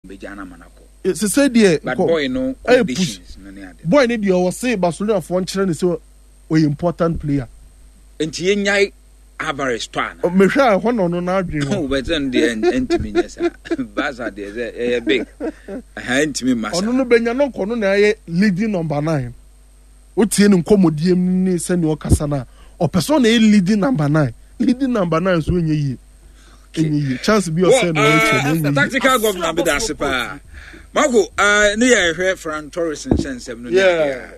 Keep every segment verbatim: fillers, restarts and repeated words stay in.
Bɛgya no ama no akɔ. Sese deɛ but boy no conditions no ne ade. Boy ne deɛ, ɔwɔ se Barcelona foɔ nkyerɛ ne sɛ ɔyɛ important player. Nti yɛnyae Alvarez tɔ ana? Mehwɛ a, ɛhɔ na ɔno n'adwene wɔ. Wobɛtɛ no deɛ, ɛntumi nyɛ saa. Barca deɛ, sɛ ɛyɛ big ɛha, ɛntumi mma saa. Ɔno no bɛnya no nkɔ no na ɛyɛ leading number nine. Wotie ne nkɔmmɔdie mu ne sɛnea ɔkasa no a, ɔpɛ sɛ ɔna ɛyɛ leading number nine. Leading number nine nso ɛnyɛ yie, ɛnyɛ yie. Chance bi ɔsɛ no ɔrekyɛ no, ɛnyɛ yie. Tactical governor bi da ase paa, Marco. uh, ne yɛ hwɛ Ferran Torres nhyɛ nsɛm no ne adeɛ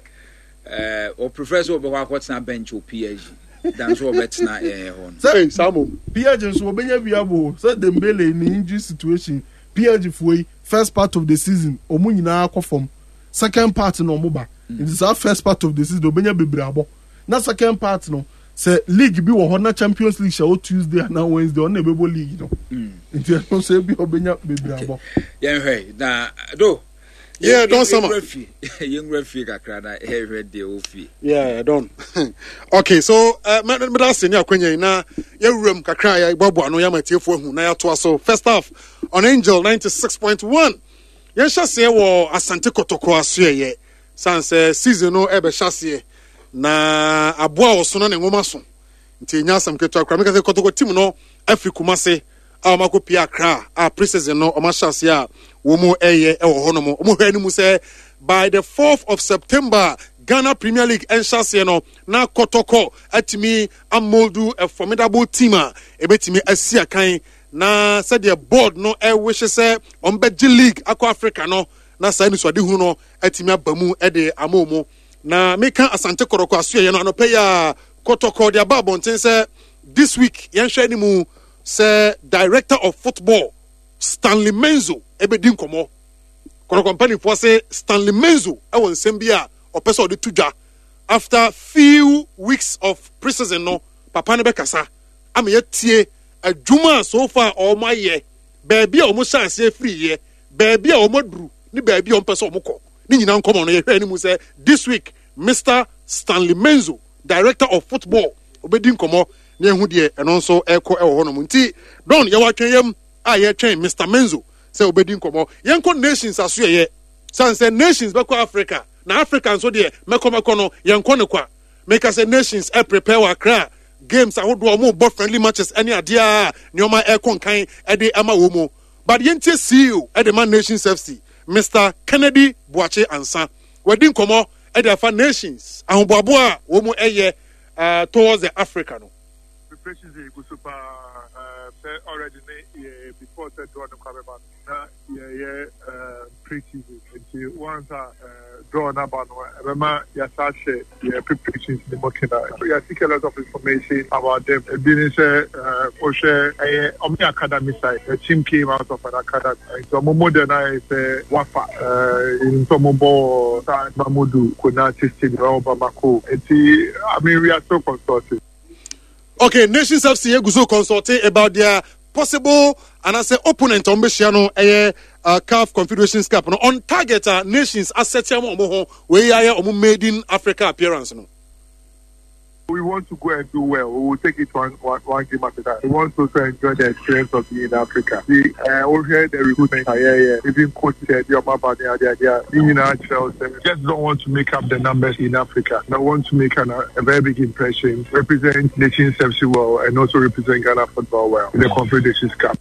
a ɔ prefer sɛ wɔbɛkɔ akɔtena bench wɔ P S G dan so wɔbɛtena ɛɛ hɔ no. Sɛ saa mo P S G nso wɔbɛnya bi abo sɛ Dembele ne injury situation. P S G foɔ yi, first part of the season ɔmo nyinaa kɔ fam, second part na ɔmo ba. Nti saa first part of the season ɔbɛnya bebree abɔ, na second part no, sɛ league bi wɔ hɔ na Champions League hyɛ wɔ Tuesday anaa Wednesday, ɔno na ɛbɛbɔ league no. Nti ɛno nso ebi ɔbɛnya bebree abɔ. Yɛnhwɛ na do. Yeah, Don Sama. Yɛnwura fie, yɛnwura fie kakra na yɛhwɛ deɛ wɔ fie. Yeah, Don. Okay, so uh, meda ase ne akwanya yi na yɛwura mu kakra a yɛboaboa no yɛama atiefoɔ ahu na yɛatoa so. First half on Angel ninety-six point one. Yɛnhyɛ aseɛ wɔ Asante Kɔtɔkɔ asoɛyɛ sane sɛ season no ɛbɛhyɛ aseɛ na aboa a ɔso na ne nwoma so, nti ɛnya asɛm ketewa koraa. Meka sɛ Kɔtɔkɔ team no afiri Kumase a wɔn akɔpie Accra a pre-season no wɔn ahyɛ aseɛ a wɔn ɛyɛ ɛwɔ hɔnom. Wɔn hwɛ anim sɛ by the fourth of September, Ghana Premier League ɛnhyɛ aseɛ no, na Kɔtɔkɔ atumi amold a formidable team a ebɛtumi asi akan na sɛdeɛ board no ɛwehye sɛ wɔn bɛgye league akɔ Africa no, na saa nisuadehunu no atumi aba mu ɛde ama wɔn. Na meka Asante Kɔtɔkɔ asoɛyɛ no, anɔpɛ yi a Kɔtɔkɔ de aba abɔnten sɛ this week yɛnhwɛ anim sɛ director of football Stanley Menzo ɛbɛdi nkɔmmɔ. Kɔtɔkɔ mpanimfoɔ sɛ Stanley Menzo ɛwɔ nsɛm bi a ɔpɛ sɛ ɔde to dwa after few weeks of pre-season no. Papa no bɛkasa ama yɛtie adwuma a so far ɔmo ayɛ, baabi a ɔmo hyɛ aseɛ firi yɛ, baabi a ɔmo aduru ne baabi a ɔmo pɛ sɛ ɔmo kɔ ne nyinaa. Nkɔmɔ no, yɛhwɛ anim sɛ this week Mister Stanley Menzo, director of football, obɛdi nkɔmɔ na ehu deɛ ɛno nso ɛkɔ ɛwɔ hɔnom. Nti Don, yɛwɔ atwɛn yam a yɛtwɛn Mister Menzo sɛ obɛdi nkɔmɔ. Yɛnkɔ Nations aso yɛyɛ san sɛ Nations bɛkɔ Africa, na Africa nso deɛ, mɛkɔ mɛkɔ no, yɛnkɔ ne kwa. Meka sɛ Nations ɛ prepare wɔ Accra, games ahodoɔ a wɔn bɔ, friendly matches ɛne adeɛ a nneɛma ɛkɔ nkan ɛde ɛma wɔn mu. But yɛntie C E O ɛde ma Nations F C, Mister Kennedy Boakye Ansa, wɔadi nkɔmɔ ɛde afa Nations ahoboaboa a wɔn mu ɛyɛ uh, towards the Africa no. Preparations yɛ egu so paa. Sɛ already ne yɛ before sɛ draw no kora bɛba no, na yɛyɛ pre-season. Nti once a draw no aba no, ɛbɛma yɛasa ahyɛ yɛ preparations ne mu kena. Yɛaseek a lot of information about them. Ebi ne sɛ wohwɛ, ɛyɛ ɔmo yɛ academy side. The team came out of an academy, nti ɔmo model no ayɛ sɛ wafa nti ɔmo bɔ saa Mamoudou Konate Stadium ɛwɔ Bamako. Nti I mean, we are still consulting. Okay, Nations F C egu so consulting about their possible anaasɛ opponent a wɔn bɛhyia no, ɛyɛ uh, CAF Confederations Cup no, on target a Nations asɛte ama wɔn ho. Wei ayɛ wɔn maiden Africa appearance no. We want to go and do well. We will take it one, one, one game at a time. We want to also enjoy the experience of being in Africa. The uh, we hear the recruitment, yeah, yeah. Even coach said, "Your mama, the idea, just don't want to make up the numbers in Africa. I want to make an, a very big impression, represent Nations F C well, and also represent Ghana football well in the Confederations Cup."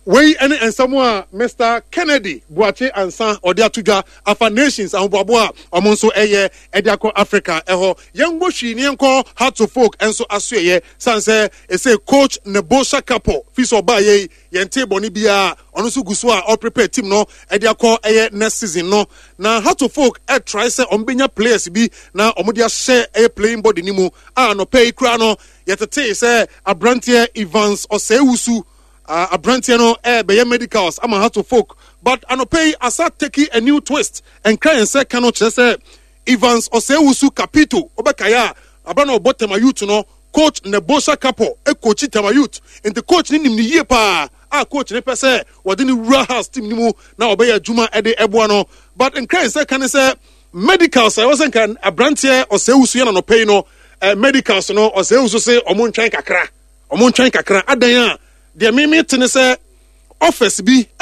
Wei ne nsɛm a Mister Kennedy Boakye Ansa ɔde ato dwa afa Nations ahoboaboa a ɔmo nso ɛyɛ ɛde akɔ Africa ɛhɔ. Yɛnkɔ hwii ne yɛnkɔ Hearts of Oak nso asoɛyɛ san sɛ ɛsɛ coach Nebosha Kapo fi sɛ ɔbaa yɛ yi, yɛnte bɔne biara. Ɔno nso gu so a ɔprepare team no ɛde akɔ ɛyɛ next season no. Na Hearts of Oak ɛtry sɛ ɔmo bɛnya players bi na ɔmo de ahyɛ ɛyɛ playing body ne mu a anɔpɛ yi koraa no, yɛtetee sɛ aberanteɛ Evans Ɔsɛewusu, uh, aberanteɛ no ɛbɛyɛ medicals ama Hearts of Oak. But anɔpɛ yi asa take a new twist. Nkra yɛn sɛ ka no kyerɛ sɛ Evans Ɔsɛewusu Capito, ɔbɛkaeɛ a abra na ɔbɔ Tema Youth no, coach Nebosha Kapo ekochi Tema Youth, nti coach ne nim ne yie paa a coach ne pɛ sɛ wɔde ne wura house team ne mu na ɔbɛyɛ adwuma ɛde ɛboa no. But nkra yɛn sɛ ka ne sɛ medicals a ɛwɔ sɛ nka aberanteɛ Ɔsɛewusu yɛ nanɔpɛ yi no, eh, medicals no, Ɔsɛewusu se ɔmo ntwɛn kakra, ɔmo ntwɛn kakra. Adan a deɛ mímí te ne sɛ Offers bi ɛwɔ.